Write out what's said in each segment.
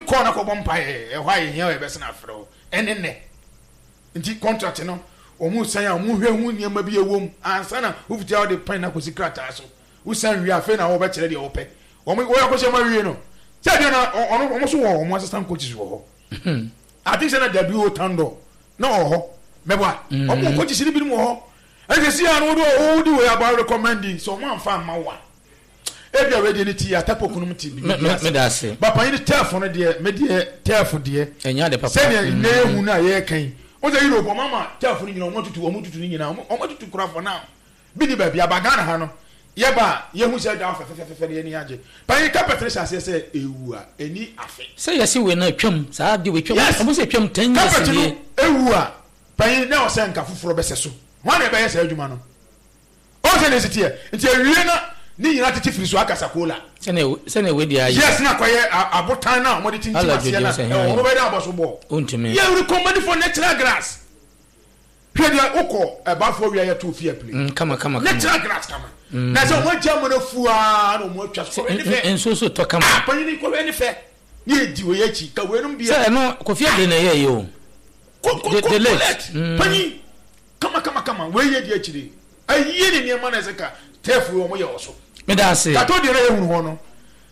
Kɔ na kɔbɔ mpaeɛ, ɛhɔ a yɛhia wo yɛbɛsan afrɛ wo. Ɛne nnɛ. Nti contract no, wɔn san a wɔn hwɛ ho nneɛma bi ɛwɔ mu ansa na wofiti a wɔde pɛn no akɔsi krataa so. Wosan wie a, afei na wɔbɛkyerɛ deɛ wɔpɛ. Wɔn wɔyɛ akɔhyɛ mu awie no, sɛ deɛ na ɔno wɔn nso wɔ wɔn assistant coaches wɔ hɔ. I think sɛ na W.O. Tandor na ɔwɔ hɔ. Mɛboa. Wɔn wɔ coaches no binom wɔ hɔ. Ɛsɛ si a no wode wode wei aba recommend sɛ wɔn amfa amma wo a. Ebia wei deɛ ne ti atapɔ kunum ti bi ase. Ba panyin tɛɛfo no deɛ me deɛ tɛɛfo deɛ. Ɛnyɛ ade papa. Sɛdeɛ nnɛ yɛ hu no a yɛreka yi. Wɔn sɛ Europe wɔn ama tɛɛfo no nyinaa wɔn atutu wɔn tutu ne nyinaa wɔn atutu kora for now. Bi ni baabi aba Ghana ha no yɛba a yɛhu sɛ ɛda hɔ fɛfɛfɛfɛ no yɛn ani agye. Panyin carpet no hyɛ aseɛ sɛ ewu a ɛni afe. Sɛ yɛsi wei no atwam saa de wei twam. Yes. Wɔn sɛ atwam 10 years Carpet no nie. ewu a panyin na ɔsɛ nka foforɔ bɛsɛ so. Hwan na ɛbɛyɛ saa adwuma no? Ɔn sɛ na esi teɛ. Nti awie na ne nyinaa tete firi so aka sakola. Sɛnea wei deɛ ayɛ. Yes, na akɔyɛ abotan na wɔde tintim Ala aseɛ na dwodwo sɛ ɛwɔ hɛn. hɔ bɛyɛ dɛ abɔ so bɔɔ. Ontumi. Yɛ recommend for natural grass. Hwɛ deɛ wokɔ ɛbafoɔ wia yɛ to fie play. Kama kama kama. Natural grass kama. Na sɛ wɔn agya mu no fuaa na wɔn atwa so kɔhwɛ ne fɛ. Nsuo so tɔ kama. Ah, panyin kɔhwɛ ne fɛ. Ne yɛ di wɔ yɛ akyi ka wei nom deɛ. Sɛ ɛno Kofi Adre na ɛyɛ yi o. Ko ko The ko the late. collect. Panyin kama kama kama wei yɛ di akyire. Ayie ne nneɛma na ɛsɛ ka tɛɛfo yi wɔn yɛ wɔ so. Meda ase. Kato deɛ na yɛhunu hɔ no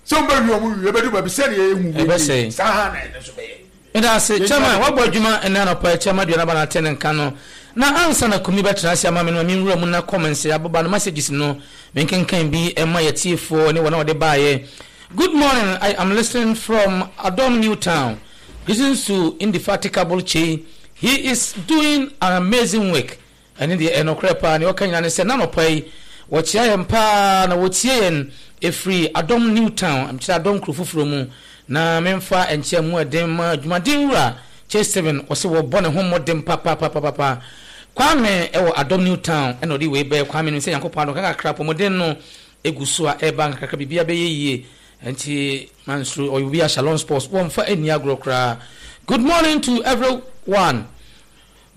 sɛ wɔn bɛwie wɔn wie bɛdu baabi sɛdeɛ yɛhu wie Ɛbɛsɛe. saa na ɛno nso bɛyɛ. Meda ase. Chairman, wabɔ adwuma ɛnɛ anɔpa yi. Chairman Aduana ba na ate ne nka no. Na ansa na Kumi bɛtena ase ama me no, ma menwura mu na comments a ababa no, messages no, menkenkan bi mma yɛtiefoɔ ne wɔn a wɔde baeɛ. Good morning, I am listening from Adom New Town. Greetings to indefatigable Chey. He is doing an amazing work. Ɛne deɛ ɛnokorɛ paa, nea ɔka nyinaa ne sɛ n'anɔpa yi wɔkyea yɛn paa na wɔtie yɛn ɛfiri Adom New Town, mekyerɛ Adom kuro foforɔ mu, na memfa nkyea mu ɛden ma adwumaden wura Chey Stephen, ɔse wɔbɔ ne ho mmɔden papapapapa. Kwame ɛwɔ Adom New Town ɛna ɔde wei bɛyɛ. Kwame nim sɛ Nyankopɔn adom kakrakra apɔmuden no ɛgu so a ɛreba nkakrakra, biribiara bɛyɛ yie, nti mansuro ɔyɛ obi a Shalom Sports wɔmfa nni agorɔ koraa. Good morning to everyone.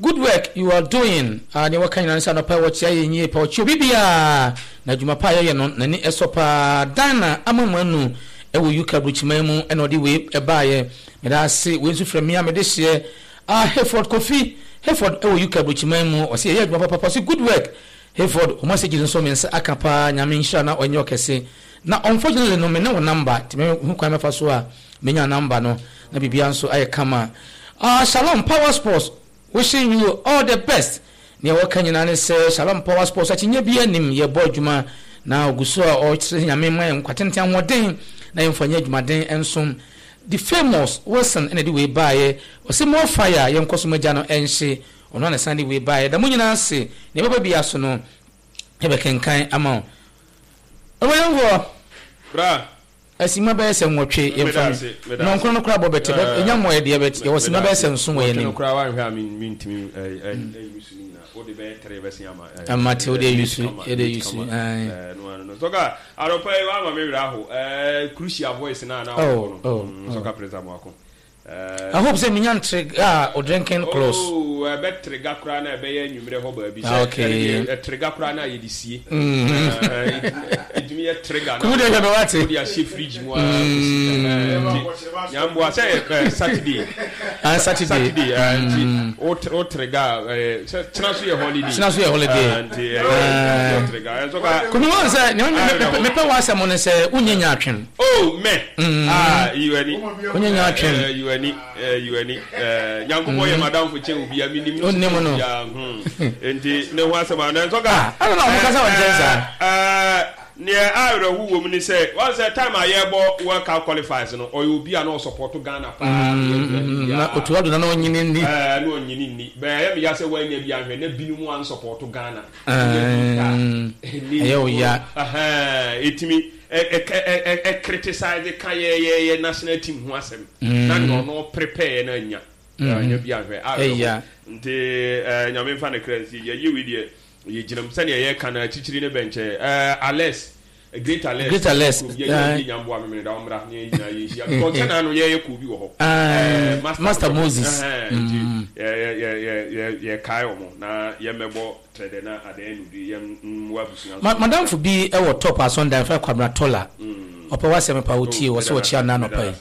Good work you are doing. Ah, nea wɔka nyinaa ne sɛ anɔpa yi wɔkyea yɛn yie pa, wɔkyea obi biara, na adwuma pa a yɛyɛ no n'ani sɔ paa. Dinah Amamanu wɔ UK aburokyiman mu na ɔde wei baeɛ. Meda ase. Wei nso fira me a mede hyeɛ. Ah, Hayford Kofi Hayford wɔ UK aburokyiman mu, ɔse yɛyɛ adwuma papapa, ɔse good work Hayford, wo messages nso me nsa aka paa, Nyame nhyira na ɔnyɛ ɔkɛse. Na unfortunately no me ne wo number, nti mehu kwan mɛfa so a menya number no na biribiara nso ayɛ kama. Ah, Shalom Power Sports wishing you all the best. Nea wɔka nyinaa ne sɛ Shalom Power Sports akyinnye biara nnim, yɛbɔ adwuma na ogu so a ɔkyerɛ sɛ Nyame mma yɛn nkwa tenten ahoɔden na yɛmfa nyɛ adwumaden nsom. The famous Wilson na ɛde wei baeɛ, ɔse more fire, yɛnkɔ so ma gya no nhye. Ɔno na ɛsan de wei baeɛ. Da mo nyinaa ase. Nea ɛbɛba biara so no, yɛbɛkenkan ama wo. Ɔbɔnyɛnfoɔ. Bra. Simma bɛyɛ sɛ 8 yɛmfa no. Nnɔnkron no koraa bɔ bɛte. Ɛnya mmɔeɛ deɛ but yɛwɔ simma bɛyɛ sɛ 7 wɔ yɛn anim. 8 no koraa woanhwɛ a mentumi nyi su no nyinaa. Wode bɛyɛ 3 bɛsen ama. Mate, wode ayi su, yɛde ayi su. Ɛno ano no. Sɔka, anɔpa yi woama me werɛ aho. Crucial voice no a na wobɔ no. Sɔka Prince Amoako. I hope sɛ menya ntrega a drinking close. Oh, ɛbɛ trega koraa na ɛbɛyɛ anwummerɛ hɔ baabi. Sɛ ɛdeɛ ɛtrega koraa na yɛde sie. Ɛtumi yɛ trega na wode ahyɛ fridge mu ara kɔsi. Nti nyamboa sɛ yɛ Saturday. Ah, Saturday. Saturday nti wo trega sɛ kyena so yɛ holiday. Kyena so yɛ holiday. Nti ɛyɛ trega. Ɛnso ka. Kumi wɔn sɛ mepɛ w'asɛm no sɛ wonyɛ nyaatwem. Oh, mɛ. Ah, yiwani. Wonyɛ nyaatwem. Yiwani, yiwani. Nyankopɔn yɛ madamfo kyɛn obi a menim no. Onim no. Nti ne ho asɛm a nanso ka. Ah, ɛna na wɔn kasa wɔn nkyɛn saa. Neɛ awerɛho wɔ mu ne sɛ wɔn sɛ time a yɛrebɔ World Cup qualifiers no ɔyɛ obi a na ɔsupporto Ghana paa. Na otu ado na na ɔnyini nni. Na ɔnyini nni. Bɛyɛ ɛyɛ me ya sɛ wɔanya bi anhwɛ na binom ansupporto Ghana. Ɛyɛ wo ya. Ɛtumi ɛ criticize ka yɛyɛyɛ national team ho asɛm na nea ɔno prepare no anya anya bi ahwɛ awerɛho nti Nyame mfa ne kra nsie yɛyɛ wei deɛ yɛgyina mu sɛdeɛ yɛka no akyikyiri ne bɛnkyɛ Alex Great Alex Great Alex yɛyɛ nyamboa memene da ɔmmra ne yɛn nyinaa yɛnhyia because sɛ na ano yɛyɛ kɔɔ bi wɔ hɔ Master Moses nti yɛkae wɔn na yɛmmɛbɔ trɛdɛ na adɛn no bi yɛmmoa abusua nso. Madamfo bi wɔ top asɔndan yɛfrɛ no Kwabena Tola. Ɔpɛ w'asɛm pa, otie, ɔse ɔkyea nnɛ anɔpa yi.